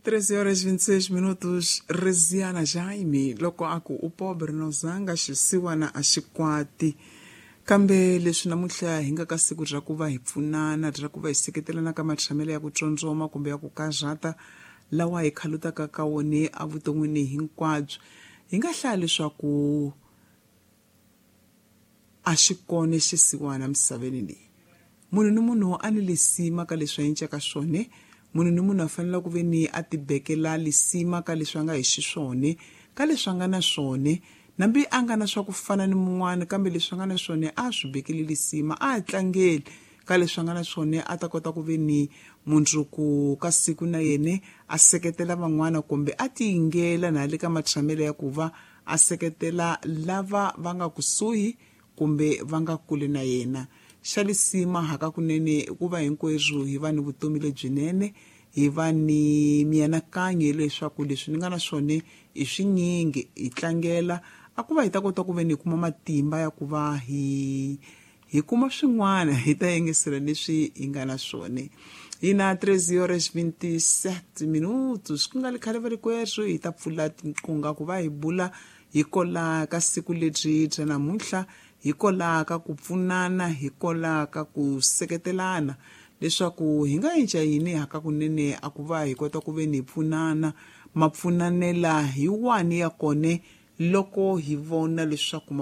13 horas 26 minutos. Reziana Jaime loko a ku u pobre no zanga xisiwana a xi kwati, kambe leswi namuntlha hi nga ka siku bya ku va hi pfunana, bya ku va hi seketelana ka matshamelo ya ku tsondzoma kumbe ya ku karhata lawa hi khalutaka ka wone evuton'wini hinkwabyo, hi nga hlaya leswaku a xi kona xisiwana emisaveni leyi. Munhu ni munhu a ni lisima ka leswi a encaka swona. Munhu ni munhu a fanele ku ve ni a tibekela lisima ka leswi a nga hi xiswona, ka leswi a nga na swona, nambi a nga na swa ku fana ni mun'wana, kambe leswi a nga na swona a swi bekeli lisima, a tlangeli ka leswi a nga na swona, a ta kota ku ve ni mundzuku ka siku na yena a seketela van'wana kumbe a tiyingela na le ka matshamelo ya ku va a seketela lava va nga kusuhi kumbe va nga kule na yena. Xa lisima hakakunene i ku va hinkwerhu hi va ni vutomi lebyinene, hi va ni mianakanyo leswaku leswi ni nga na swona i swinyingi, hi tlangela a ku va hi ta kota ku ve ni hi kuma matimba ya ku va hi kuma swin'wana, hi ta yengesela leswi hi nga na swona. Hi na 13 horas 27 minutos, ku nga ri khale varikwerhu hi ta pfula tinqunga ku va hi bula hi kola ka siku lebyi bya namuntlha, hi kola ka ku pfunana, hi kola ka ku seketelana, leswaku hi nga endla yini hakakunene a ku va hi kota ku ve ni hi pfunana, mapfunanela hi wani ya kone loko hi vona leswaku ma